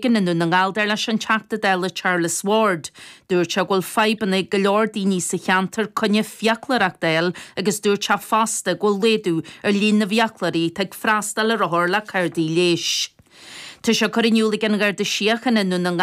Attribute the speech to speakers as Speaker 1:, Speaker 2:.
Speaker 1: I nDún na nGall, dar leis an Teachta Dála Charles Ward. Dúirt sé go bhfuil fadhbanna ag go leor daoine sa cheantar coinne fiaclóireacht a fháil agus dúirt sé fosta go bhfuil laghdú ar líon na bhfiaclóirí atá ag freastal ar othair le cártaí leighis. Tá sé curtha in iúl ag an Gharda Síochána i nDún na nGall.